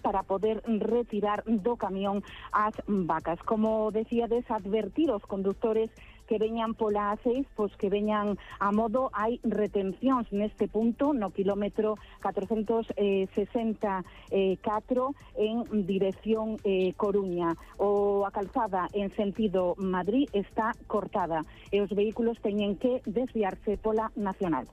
para poder retirar do camión as vacas. Como decíades, advertir os condutores que veñan pola A6, pois que veñan a modo. Hai retencións neste punto, no kilómetro 464 en dirección Coruña. A calzada en sentido Madrid está cortada e os vehículos teñen que desviarse pola Nacional.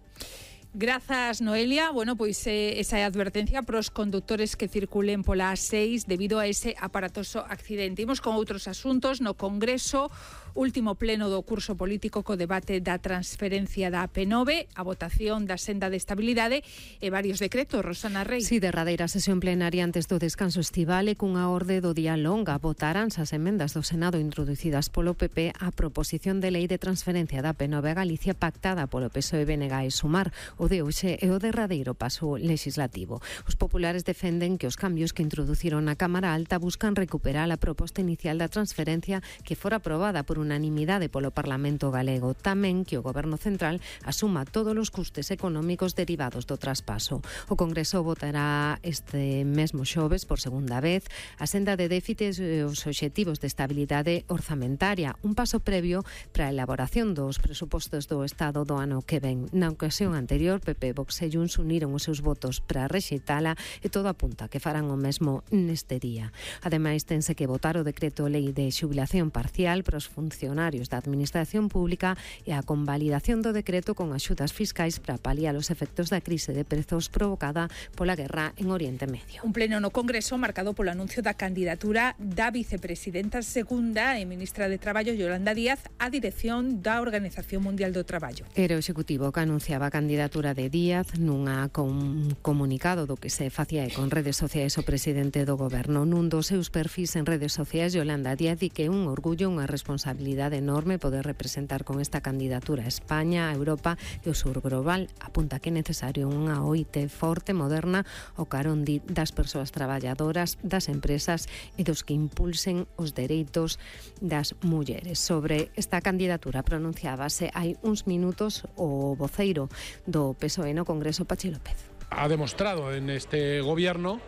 Grazas, Noelia. Bueno, pois esa é a advertencia para os condutores que circulen pola A6 debido a ese aparatoso accidente. Imos con outros asuntos. No Congreso, último pleno do curso político co debate da transferencia da AP9, a votación da senda de estabilidade e varios decretos. Rosana Rey. Si, derradeira sesión plenaria antes do descanso estival e cunha orde do día longa votaranse as emendas do Senado introducidas polo PP á proposición de lei de transferencia da AP9 a Galicia pactada polo PSOE, BNG e Sumar. O de hoxe é o derradeiro paso legislativo. Os populares defenden que os cambios que introduciron na Cámara Alta buscan recuperar a proposta inicial da transferencia que fora aprobada por unanimidade polo Parlamento galego. Tamén que o Goberno Central asuma todos os custes económicos derivados do traspaso. O Congreso votará este mesmo xoves por segunda vez a senda de déficits e os obxectivos de estabilidade orzamentaria, un paso previo para a elaboración dos presupostos do Estado do ano que ven. Na ocasión anterior, PP, Vox e Junts uniron os seus votos para rexeitala e todo apunta que farán o mesmo neste día. Ademais, tense que votar o decreto lei de xubilación parcial para os funcionarios da Administración Pública e a convalidación do decreto con axudas fiscais para paliar os efectos da crise de prezos provocada pola guerra en Oriente Medio. Un pleno no Congreso marcado polo anuncio da candidatura da vicepresidenta segunda e ministra de Traballo, Yolanda Díaz, á dirección da Organización Mundial do Traballo. Era o Executivo que anunciaba a candidatura de Díaz nunha comunicado do que se facía con redes sociais o presidente do Goberno. Nun dos seus perfis en redes sociais, Yolanda Díaz di que é un orgullo, unha responsabilidade enorme poder representar con esta candidatura a España, a Europa e o sur global. Apunta que é necesario unha OIT forte, moderna, o carón das persoas traballadoras, das empresas e dos que impulsen os dereitos das mulleres. Sobre esta candidatura pronunciábase hai uns minutos o voceiro do PSOE no Congreso, Pachi López. Ha demostrado en este gobierno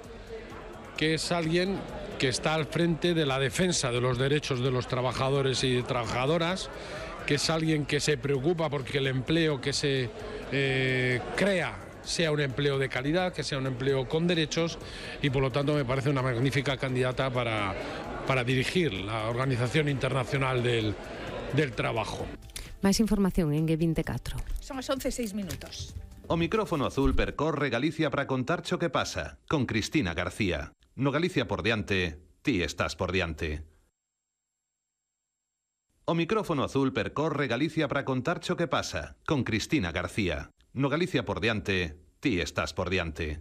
que es alguien que está al frente de la defensa de los derechos de los trabajadores y trabajadoras, que es alguien que se preocupa porque el empleo que se crea sea un empleo de calidad, que sea un empleo con derechos y por lo tanto me parece una magnífica candidata para dirigir la Organización Internacional del Trabajo. Máis información en G24. Son as 11:06. O micrófono azul percorre Galicia para contarcho que pasa, con Cristina García. No Galicia por diante, ti estás por diante. O micrófono azul percorre Galicia para contarcho que pasa, con Cristina García. No Galicia por diante, ti estás por diante.